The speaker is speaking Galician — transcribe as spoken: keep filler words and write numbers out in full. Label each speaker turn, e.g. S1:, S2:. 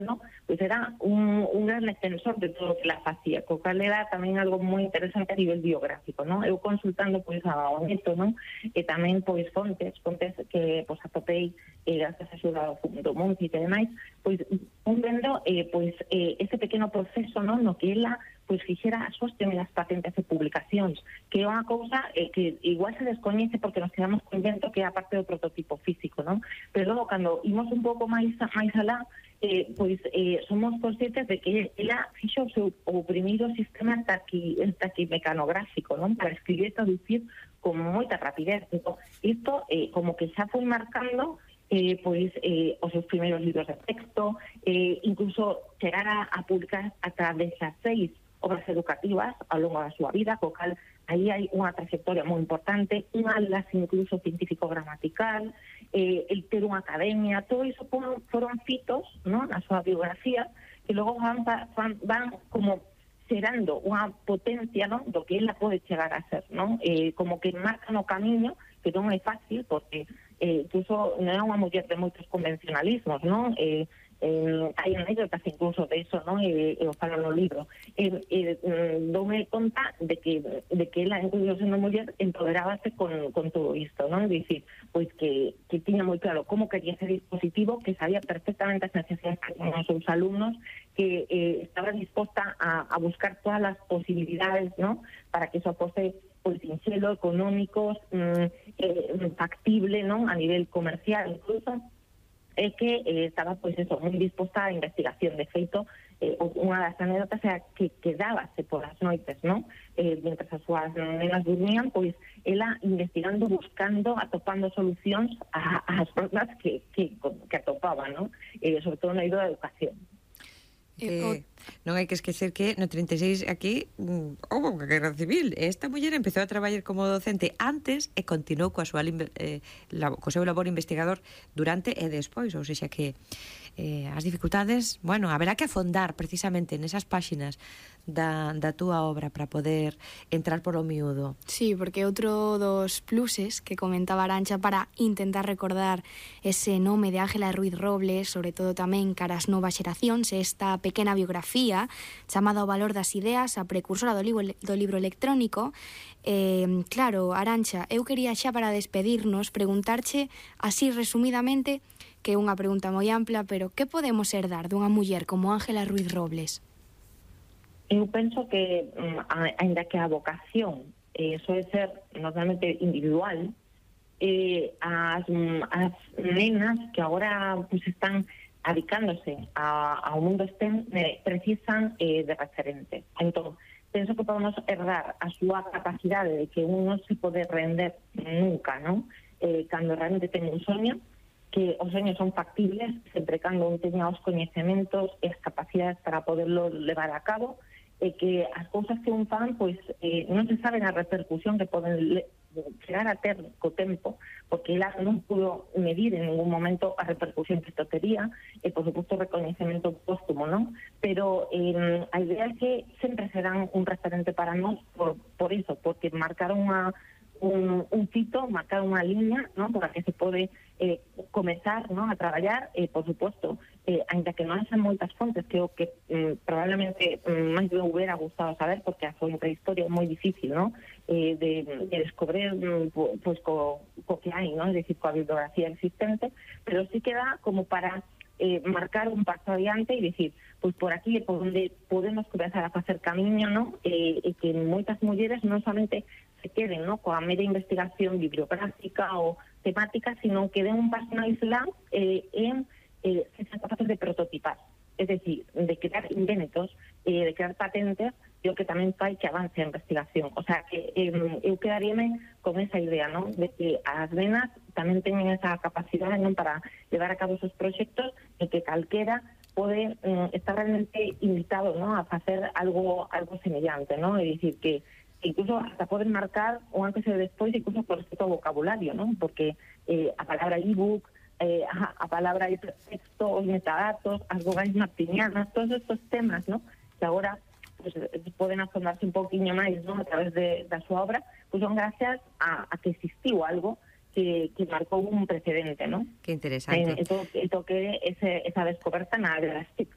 S1: no? Pois era un, un gran extensor de todo o que la facía, co cal era tamén algo moi interesante a nivel biográfico, no? Eu consultando pois ao neto, no? E tamén pois fontes, fontes que pois atopei eh, gracias a axuda do, do Monti e demais, pois un vendo eh, pois eh, ese pequeno proceso, no? No que ela pois fixera as súas primeiras patentes e publicacións, que é unha cousa eh, que igual se descoñece porque nos quedamos co invento que é a parte do prototipo físico, non? Pero logo, cando imos un pouco máis máis alá, eh, pois eh, somos conscientes de que ela fixo o seu o primeiro sistema taqui, taquimecanográfico, non? Para escribir e traducir con moita rapidez. Entón, isto eh, como que xa foi marcando eh, pois eh, os seus primeiros libros de texto, eh, incluso chegar a, a publicar ata dezasseis obras educativas ao longo da súa vida, co cal aí hai unha trayectoria moi importante, un atlas incluso científico-gramatical, eh, el ter unha academia, todo iso foron, foron fitos, ¿no?, na súa biografía, que logo van, van, van como xerando unha potencia, ¿no?, do que ela pode chegar a ser, ¿no? Eh, como que marcan o camiño, que non é fácil, porque eh, incluso non é unha muller de moitos convencionalismos, ¿no? Eh, Eh, hai anécdotas incluso de eso, ¿no? E, e o falo no libro. E, e, doume conta de que de que ela, incluso sendo muller, empoderábase con, con todo isto, ¿no? Dicir, pois que, que tiña moi claro como quería ser dispositivo, que sabía perfectamente as necesidades que tenían os seus alumnos, que eh, estaba disposta a, a buscar todas as posibilidades, ¿no?, para que eso fose pois sinxelo, económicos, mm, eh, factible, ¿no?, a nivel comercial incluso, é que eh, estaba, pois eso, moi disposta á investigación. De feito, eh, unha das anécdotas era que quedábase polas noites, non? Eh, mentre as súas nenas dormían, pois ela investigando, buscando, atopando solucións ás problemas que, que, que atopaba, non? Eh, sobre todo na eido da educación.
S2: Que non hai que esquecer que no trinta e seis aquí houve unha guerra civil. Esta muller empezou a traballar como docente antes e continuou coa súa eh, la, co seu labor investigador durante e despois, ou seja que eh, as dificultades, bueno, haberá que afondar precisamente nesas páxinas da, da túa obra para poder entrar polo miúdo.
S3: Sí, porque outro dos pluses que comentaba Arantxa para intentar recordar ese nome de Ángela Ruiz Robles, sobre todo tamén cara ás novas xeracións, esta pequena biografía chamada O valor das ideas, a precursora do libro, do libro electrónico. Eh, claro, Arantxa, eu quería xa para despedirnos preguntarche así resumidamente, que é unha pregunta moi ampla, pero que podemos herdar dunha muller como Ángela Ruiz Robles?
S1: Eu penso que, ainda que a vocación eh, soe ser normalmente individual, eh, as, as nenas que agora pues, están adicándose a, ao mundo STEM eh, precisan eh, de referentes. Entón, penso que podemos herdar a súa capacidade de que un non se pode render nunca, non? Eh, cando realmente ten un soño, que os soños son factibles, sempre cando un teña os coñecementos e as capacidades para poderlo levar a cabo, e que as cousas que un fan, pois, eh, non se saben a repercusión que poden chegar a ter co tempo, porque ela non pudo medir en ningún momento a repercusión que isto tería, e, por suposto, o recoñecemento póstumo, non? Pero eh, a idea é que sempre serán un referente para nós por, por iso, porque marcaron unha un, un fito, marcar unha liña, ¿no?, para que se pode eh, comezar, ¿no?, a traballar, e, eh, por suposto, eh, ainda que non haxan moitas fontes, que o que eh, probablemente eh, máis me hubiera gustado saber, porque a fonte de historia é moi difícil, ¿no?, eh, de, de descobrir pues, co, co que hai, ¿no?, es decir, coa bibliografía existente, pero sí queda como para eh, marcar un paso adiante e dicir, pois por aquí é por onde podemos comenzar a facer camiño, ¿no?, e, e que moitas mulleres non somente se queden, ¿no?, coa mera investigación bibliográfica ou temática, sino que den un paso máis lá eh, en eh, se sean capaces de prototipar, es decir, de crear inventos, eh, de crear patentes, e o que tamén fai que avance a investigación. O sea, que eh, eu quedaríame con esa idea, ¿no?, de que as nenas tamén teñen esa capacidade, ¿no?, para levar a cabo esos proxectos, e que calquera pode eh, estar realmente invitado, ¿no?, a facer algo algo semellante, ¿no?, é dicir, que incluso hasta poden marcar o antes e despois, incluso por respecto ao vocabulario, ¿no?, porque eh, a palabra ebook, eh, a, a palabra hipertexto, os metadatos, as vogais martinianas, todos estos temas, ¿no?, que agora pues, poden afondarse un pouquiño máis, ¿no?, a través de, da súa obra, pues son gracias a, a que existiu algo que, que marcou un precedente, ¿no?
S2: Que interesante.
S1: Eh, e, to, e toque ese, esa descoberta na área das T I C.